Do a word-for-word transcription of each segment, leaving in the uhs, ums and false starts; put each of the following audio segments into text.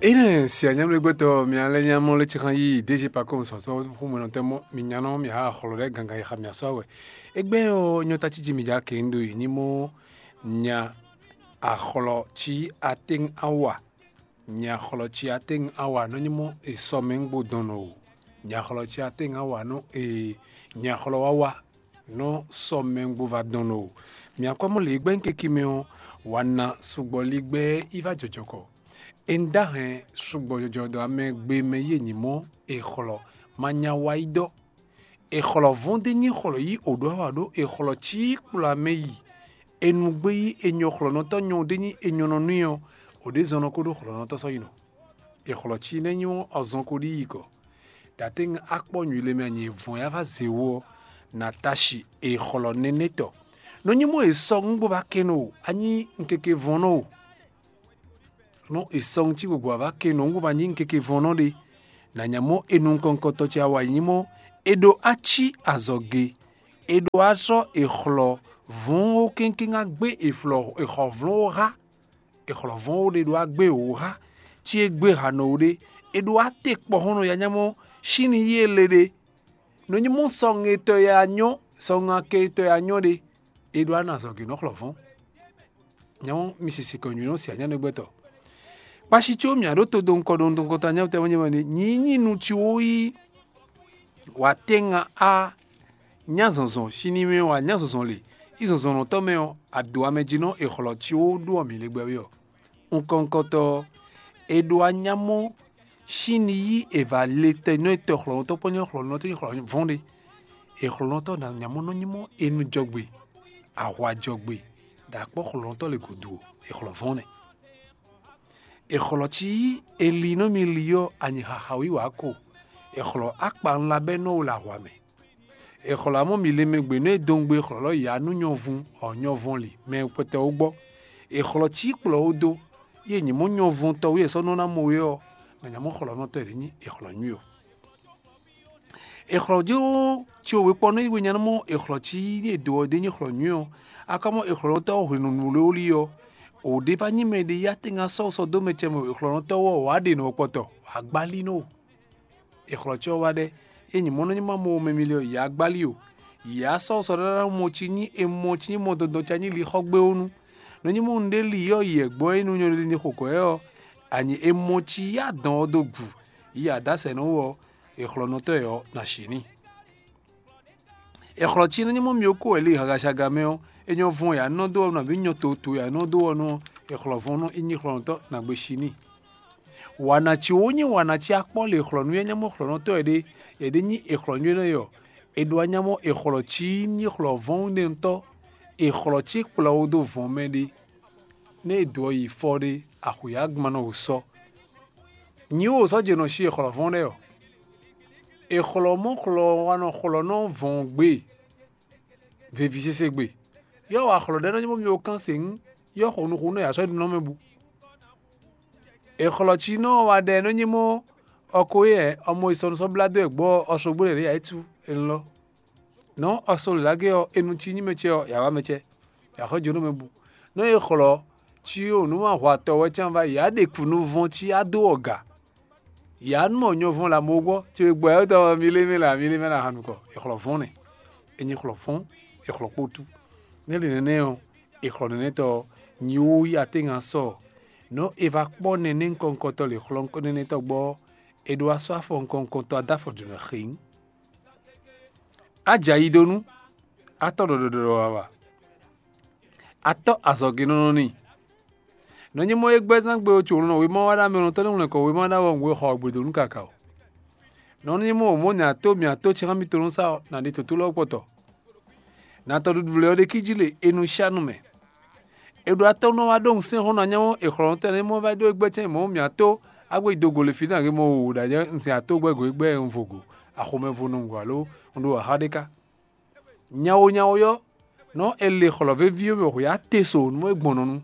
Énɛ́ si anyamlɛ́gbɛ́tɔ́ mi alɛ nyamɔ lé cixan yí D G Pacom sɔtɔ́ xú mɔnɔtɛ́ mɔ mi nyanɔ mi ha xɔlɔ ɖɛ gangan yi xa mi asɔ wɛ. Égbé ɔ́ nyɔ ta cí mi ja kɛ ndo yi ní mɔ nya axɔlɔ cí atɛ́n awa. Nya xɔlɔ cí atɛ́n awa nɔ nyí mɔ esɔ mɛ ŋgbo dɔn nɔ o. Nya xɔlɔ cí atɛ́n awa nɔ e nya xɔlɔ wawa nɔ sɔ mɛ ŋgbo va dɔn nɔ o. Mi akɔmɔ lě gbɛ́ keke mɛ ɔ́, wa na sugbɔ ligbɛ yi va jɔjɔkɔ. Enda hɛn sugbɔ jɔjɔ dɔ amɛ gbe mɛ yi e nyí mɔ e xlɔ ma nya wa yi dɔ. E xlɔ vɔn de nyi xlɔ yi o ɖo awa ɖo e xlɔ cí kplɔ amɛ yi. E nu gbé yi e nyɔ xlɔnɔtɔ nyɔ de nyi e nyɔ nɔ nui ɔ́, o ɖe zɔn nɔ ko ɖo xlɔnɔtɔ sɔ yi nɔ. E xlɔ cí nɛ nyi ɔ́ azɔn ko ɖi yi kɔ. Dateng akpɔ nyui le mɛ anyi vɔn ya va zé wo ɔ́, na tashi e xlɔ nɛnɛ tɔ. Nɔ nyi mɔ e sɔ ŋgbo va kɛn o, anyi nkeke vɔn nɔ o. Nɔ e sɔ ŋuti gbogbo ava ke nɔ ŋgbo ma nyí nkeke vɔn nɔ ɖe. Na nya mɔ e nukɔn kɔtɔ ce awa nyí mɔ e ɖo aci azɔge. E ɖo asɔ e xlɔ vɔn wo kɛnkɛn agbe e flɔ e xɔ vlɔn wo ha. E xlɔ vɔn wo ɖe ɖo agbe wo ha. Ci e gbe ha nɔ wo ɖe. E ɖo ate kpɔhɔn nɔ ya nya mɔ sini yi e le ɖe. Nɔ nyi mɔ sɔŋ etɔ ya nyɔ sɔŋ ake etɔ ya nyɔ ɖe. E ɖo ana azɔge nɔ xlɔ vɔn. Nyɔ̌nu mi sisi kɔn nyɔ̌nu si anyánɔgbɛtɔ́. Kpashi có mǐ aɖó to dó ŋkɔ ɖo nukɔntɔn anyáwutɛ́ wɛ nyɛ wɛ nyi nyí nu ci wó yí wǎ tɛ́nga á nyá zɔnzɔn sini mɛ wǎ nyá zɔnzɔn le. Í zɔnzɔnnɔtɔ́ mɛ ɔ́, ado amɛ jí nɔ è xlɔ ci wó ɖó ɔ́ mǐ lé gbɛ́ wé ɔ́. Nukɔntɔn ɔ́, è ɖo anyá mɔ sín ní yí è vǎ le tɛnɔ́ e tɔ xlɔ̌nutɔ́ kpó nyɔ́ xlɔ̌nutɔ́ nyí xlɔ̌ vɔ́n ɖe. È xlɔ̌nutɔ́ ná nyamɔ nɔ nyí mɔ e nu jɔgbe, ahwa jɔgbe, ɖo akpɔ́ xlɔ̌nutɔ́ le gǔdo ɔ́, è xlɔ̌ vɔ́n nɛ́. È xlɔ̌ cí yí è li nú mi li ɔ́ anyi xaxa wíwá ko. È xlɔ̌ akpa ńlá bɛ́ nɔ wo le ahwa mɛ. È xlɔ̌ amɔ́ mi le mɛ gbe nú e dɔn gbe xlɔ̌ lɔ yǎ nú nyɔvun ɔ nyɔvɔn li mɛ kpɛtɛ wó gbɔ. È xlɔ̌ cí kplɔ̌ wó dó, yí è nyǐ mɔ nyɔvɔntɔ́ wú è sɔ́ nɔ ná mɔ wé ɔ́, nɔ nyamɔ xlɔ̌nɔtɔ́ è ɖě nyí è xlɔ̌ nyui ɔ. È xlɔ̌ jó cí wěkpɔ́ nɔ yi we nya nɔ mɔ è xlɔ̌ cí yí è dǒ ɔ́ ɖé nyí xlɔ̌ nyui ɔ. Akamɔ è xlɔ̌nɔtɔ́ hwenu nǔ wlé wó li ɔ́, wǒ ɖé va nyí mɛ ɖé yá tɛ́nga sɔ́ sɔ dó mɛ ce mɛ è xlɔ̌nɔtɔ́ wú ɔ́ wǎ ɖe nǔ ɔ́ kpɔtɔ, wǎ gbálí nɔ o. È xlɔ̌ cí ɔ́ wá ɖɛ́, é nyí mɔ̌ nɔ nyí ma mɔ mɛ miliyɔn yǎ gbálí o. Yǎ sɔ́ sɔ ɖaɖa mɔ cí nyí è mɔ cí nyí mɔ dɔndɔn ca nyí li xɔ gbé wú nú. Nɔ nyí mɔ nǔɖé li yɔ́ yi ɛ̌gbɔ́ é nú nyɔ̌ɖéɖé xo kɔ̌ ɛ ɔ́, anyi è mɔ cí yá dɔn ɔ́ dó gu, yi adǎsɛ nɔ wú ɔ́, è xlɔ́nɔtɔ́ ɛ ɔ́ ná shǐ n'i. È xlɔ̌ cí nɔ nyí mɔ mì ó kó wɛ li hagasaga mɛ ɔ́, é nyɔ́ vɔn yǎ nɔ dó ɔ́ nabí nyɔ toto yǎ nɔ dó ɔ́ nú ɔ́, è xlɔ̌ vɔn nú í nyí xlɔ́nɔtɔ́ nǎgbé shǐ n'i. Wǎ ná cí wó nyí wǎ ná cí akpɔ́ le xlɔ̌nú e nyá mɔ xlɔ̌nɔtɔ́ ɛ ɖé, yě ɖé nyí è xlɔ̌nú énɛ́ ɔ́, è ɖo anyá mɔ è xlɔ̌ cí nyí xlɔ̌ vɔ́n nɛntɔ́, è xlɔ̌ cí kplɔ́ wó dó vɔ̌n mɛ ɖé, nɛ́ è dǒ ɔ́ yi fɔ ɖé, axwǐ agban nɔ wǒ sɔ́. Nyi wǒ sɔ́ jɛ nɔ sí è xlɔ̌ vɔ́n lɛ́ɛ ɔ́, è xlɔ̌ mɔ xlɔ́ wa nɔ xlɔ́ nɔ vɔ̌n gbe, veví sésé gbe. Yɔ́ wa xlɔ̌ ɖɛ́ nɔ nyí mɔ mi ó kán sěŋ, yɔ́ xo nuxu nɔ yǎ sɔ́ ɖu nɔ mɛ bu. È xlɔ̌ cí nɔ wa ɖɛ nɔ nyí mɔ ɔko yɛ ɔmɔ yi sɔnusɔ́ blá dó ɛ gbɔ ɔslogbó lɛ ɖě yǎ yi tú elɔ́. Nɔ ɔslo lǎgé ɔ́, enu cí nyí mɛ ce ɔ́, yǎ wá mɛ ce, yǎ xɔ jó nú mɛ bu. Nɔ e xlɔ́ cí o nú ma hwa tɔ wɛ cán va yǎ ɖe kùnuvɔn cí á dó ɔga. Yǎ nú mɔ nyɔvɔn lě amɔ̌ gbɔ, ce e gbɔ yǎ tɔn mi lé mɛ lě mi lé mɛ lě ahan nukɔ, è xlɔ́ vɔ́n nɛ. È nyi xlɔ́ fɔ́n, è xlɔ́ kpótú. Nɛ́ ɖe nɛnɛ́ ɔ́, è xlɔ́ nɛnɛ́tɔ́ ɔ́, nyi wú yí atɛ́ngan sɔ, nɔ è va kpɔ́ nɛnɛ́ nukɔntɔ́ lě xlɔ́ nɛnɛ́tɔ́ gbɔ ɔ́, è ɖo asɔ́ afɔ nukɔntɔ́ adó afɔ jǒnɔ xǐn. Á jɛ ayi dó nú, á tɔ́ ɖɔɖɔɖɔɖɔ wawa, á tɔ́ azɔ̌genɔnɔ n'i. Nɔ nyí mɔ é gbɛ́ zán gbe ɔ́, co nɔ wěma wá ɖó amɛ nɔ tɔ́ nú wlɛ̌nkɔ wěma ɖó awɔ nǔwe xɔ ɔ́ gbe dó nú kaka o. Nɔ nyí mɔ wǒ mɔ nya tó mǐ ató cɛ́xán mitɔn nɔ sa ɔ́, nǎ ɖe tǒtó lɔ kpɔtɔ. Nǎ tɔɖuɖu lɛ́ɛ ɔ́ ɖe kíjí le e nú sá nú mɛ. È ɖo atɔ́ nɔ wá ɖó ŋusɛ́n xɔ́n ná nyá mɔ è xlɔ̌ nɔ́ tɛn mɔ vɛ́ ɖó é gbɛ́ cɛ́n mɔ̌ mǐ ató á gbé yi do go le fí nú agě mɔ wǒ ɖo anyɛ un sin ató gbɛ́ go é gbɛ́ un vo go, axomɛ vo nɔ un go alo un ɖo axá ɖé ká. Nyawo nyawo yɔ́, nɔ è le xlɔ̌ veví ɔ́ mɛ xwě á te so nú é gbɔn nɔ nu.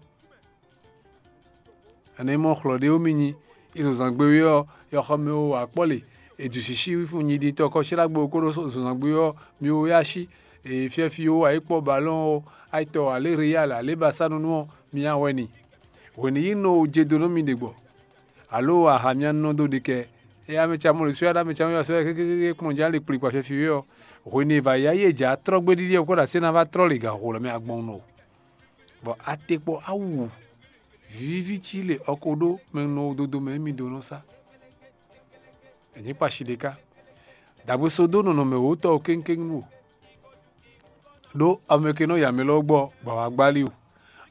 Ɛnɛ mɔ xlɔ́ ɖé wú mì nyi, yi zɔnzǎngbe wé ɔ́, yɔxɔmɛ wo akpɔ́ le, è ju sǐsí fun nyi ɖi tɔkɔ sɛ́ ɖagbe ko ɖó zɔnzǎngbe ɔ́, mi wo yá sí, è fiɛ́fí wo ayǐkpɔ balɔ́n ɔ́, ayǐtɔ alé Real alé Basánu ɔ́, mi nyi awɛ n'i. Hwenu yi nɔ wo jedo nú mi ɖe gbɔ. alo aha mía nɔ dó ɖi kɛ. Eye amɛ ce amɔ ɖo sɔ́ ya ɖo amɛ ce amɔ ya sɔ́ ya kékéké kplɔ́n jɛ ali kplikpa fɛ́fí wé ɔ́, hwenu e è vǎ yá yí e jǎ trɔ́ gbé ɖiɖi ɔ́, kó ɖo asé ná vá trɔ́ lě gǎn xo lɔ mɛ agbɔn nɔ o. Bɔ atekpɔ awu vǐví cí lě ɔ́ ko ɖó mɛ nɔ dodo mɛ émí dó nɔ sá. È nyǐ kpa shi ɖé ká. Dǎgbé só dó nɔnɔmɛ wǒtɔ́ ɔ́ kéŋkéŋ wú. Ɖó amɛkenɔ yǎmɛ lɔ gbɔ bɔ wǎ gbálí o.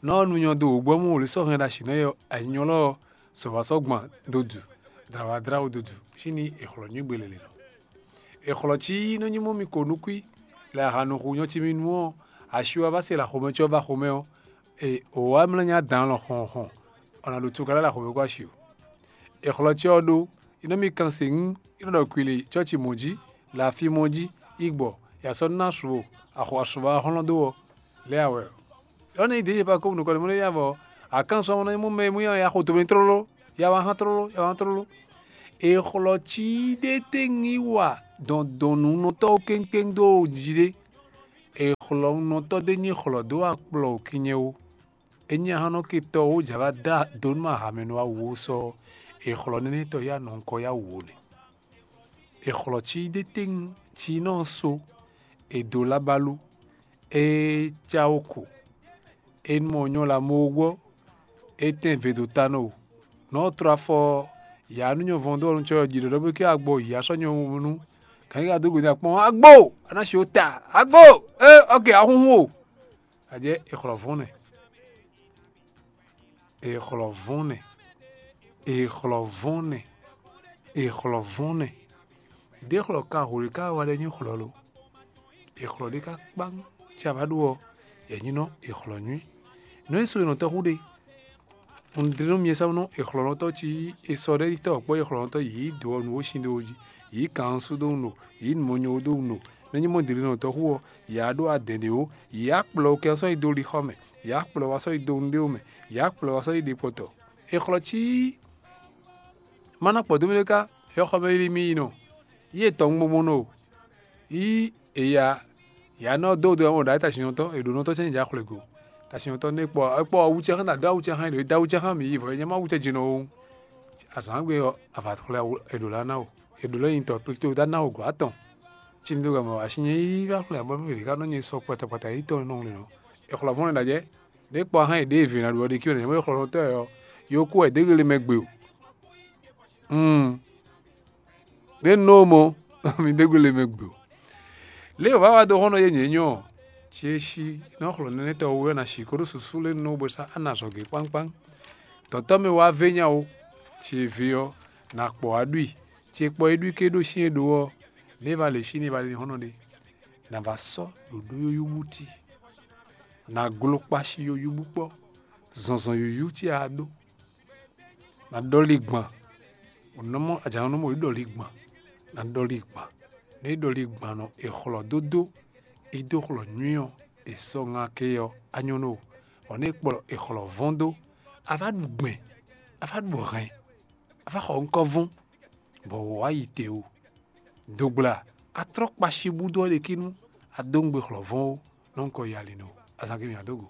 Nɔ ɔ́ nu nyɔ dó wǒgbɔ́ mú wǒ lě sɔ́ hɛn ɖo asǐ nɛ́ ɔ́, anyɔ lɔ ɔ́, sɔ̌ wá sɔ́ gban dó du, dlǎ wá dlá wú dó du, sín ní è xlɔ̌ nyí gbe lělé nɔ. È xlɔ̌ cí nɔ nyí mɔ mi ko nukún lɛ ahan nɔ xu nyɔ cí mi nu ɔ́, asi wá vá se lɛ axomɛ cɔ́ vá xomɛ ɔ́, è wǒ wá mlɔ́ nyí adǎn lɔ xɔn xɔn, ɔ́ ná ɖo tuka lɛ́ lɛ axomɛ kó asi o. È xlɔ́ cɛ́ ɔ́ ɖó, é nɔ́ mì kan se ŋú, é nɔ́ ɖɔ kwili cɔ́ci mɔ̌ jí, lafi mɔ̌ jí, yi gbɔ, ya sɔ́ ná su o, axɔ asuvɔ hlɔ́n dó ɔ́, lɛ́ awɛ. Lɔ̌ nɛ yi dě yi pa kó nukɔn mɔ ya vɔ, akán sɔ́ mɔ nɔ mú mɛ mú ya xo tomi tlóló, ya wá hán tlóló, ya wá hán tlóló. È xlɔ́ cí ɖé tɛ́ngi wa dɔndɔnnúnɔtɔ́ kéŋkéŋ dó jí ɖé. È xlɔ́ nunɔtɔ́ ɖé nyi xlɔ́ dó akplɔ kinnyɛ ó. Ényí a hɔn nɔ ke tɔ wó jǎ vá dó dǒ nú ahamɛnú awu ó sɔ ɔ́, è xlɔ́ nénɛ́ tɔ yá nɔ nukɔn yá wǔ ó nɛ́. È xlɔ́ cí ɖé tɛ́ntin cí nɔ so, è dǒ lábálú, é cá wó ko, é nú mɔ nyɔ́ la mó gbɔ, é tɛ́n ve dó ta nɔ o. Nɔ́ trɔ afɔ yǎ nú nyɔ̌vɔn dó ɔ́ nú cɔ́ jí ɖɔ̌ɖɔ́ bó ké agbɔ yǐ asɔ́ nyɔ̌vɔn nú gǎn yí ka dó gbe nú akpɔ́n agbo, a ná si ó ta agbo, é ɔ́ ke ahúnhún o. Ajɛ è xlɔ́ vɔ́n nɛ, è xlɔ́ vɔ́n nɛ, è xlɔ́ vɔ́n nɛ, è xlɔ́ vɔ́n nɛ. Ɖěxlɔ́ ka hwě ka wa ɖɛ nyí xlɔ́ lo? È xlɔ́ ɖé ka kpán, ci a vǎ ɖó ɔ́, yɛ nyí nɔ è xlɔ́ nyuí. Nǔ e so è nɔ tɔ́ xú ɖe. Un ɖe nú mi e sá nú è xlɔ́ nɔ tɔ́ ci yí è sɔ ɖɛ́ yi tɔ́ kpɔ́ è xlɔ́ nɔ tɔ́ yǐ dǒ ɔ́ nǔ ó sin ɖó jí, yǐ kan ɔ́ sú dó wun ɖo, yǐ mɔ nyɔ ó dó wun ɖo. Nɛ́ nyí mɔ dǐlínɔ tɔ́ xú ɔ́, yě á ɖó adɛ̌n ɖé ó, yě á kplɔ́ ó kɛ ɔ́ sɔ́ yi dó lixɔ mɛ, yě á kplɔ́ wá sɔ́ yi dó nǔɖé ó mɛ, yě á kplɔ́ wá sɔ́ yi ɖe kpɔtɔ. È xlɔ́ cí má ná kpɔ̌ dó mì ɖé ká, yɔxɔ mɛ yí mì yi nɔ, yí etɔn gbɔngbɔn nɔ o. Yí eya ya nɔ dó do ɔmɔ ɖǎ tasinɔtɔ, è ɖǒ nɔtɔ cɛ́nyi dza xwlɛ go. Tasinɔtɔ nɛ kpɔ kpɔ awucɛ xán dó awucɛ xán ɖo dó awucɛ xán mǐ yi vɔ nyɛ má awucɛ jɛnɔ o. Azǎn gbe ɔ́, ava xwlɛ è ɖǒ lá ná o, è ɖǒ lɛ́ nyitɔ plito dá ná o gɔ̌ atɔn. Cíní dó gamɔ asi nyɛ yí vá xwlɛ abɔ mɛ ɖě ká nɔ nyɛ sɔ kpata kpata yi tɔn nɔ ŋlɛ nɔ. È xlɔ vɔn lɛ ɖajɛ, ɖě kpɔ hán è ɖě vǐ ná ɖu ɔ́ ɖi kí wɛ nyɛ mɔ è xlɔ nɔtɔ ɛ ɔ́, yo kú wɛ dégele mɛ gbe o. Hmm. Ɖé nɔ mɔ mi dégbe le mɛ gbe o. Lě e wǎ wá dó xɔ́nɔ yé nyě nyɔ ɔ́, ce é sí nɔ xlɔ́ nɛnɛ́tɔ́ wú wɛ ná sí kó ɖó susu lé nú bó sá á nɔ azɔ̌ gě kpánkpán. Tɔ̌tɔ́ mɛ wá vé nya ó, ce é vé ɔ́, nǎ kpɔ́ wá ɖu i, ce kpɔ é ɖu i ké ɖó syɛ́n ɖó ɔ́, nɛ̌ va lě sí nɛ́ va lé xɔ́nɔ ɖé? Nǎ va sɔ́ ɖǒɖó yúyú bútí, nǎ gló kpási yúyú bú kpɔ́, zɔnzɔn yǔyú ce a ɖó. Nǎ ɖɔli gban, nɔmɔ ajǎnɔmɔ yi ɖɔli gban, nǎ ɖɔli gban. Nú é ɖɔli gban nɔ è xlɔ dódó, é dó xlɔ nyuí ɔ́, è sɔ́ ŋa ké ɔ́, á nyɔ́ nú o. Bɔ nú é kplɔ è xlɔ vɔ́n dó, a vá ɖu gbɛn, a vá ɖu hɛn, a vá xɔ ŋkɔ́ vɔ́n, bɔ wǒ wá yi te o. Dogbla, a tlɔ́ kpashi búdó ɔ́ ɖe kínú, a dó ŋgbe xlɔ vɔ́n ó, nɔ ŋkɔ yi ali nɔ, azǎn gěmɛ a dó go.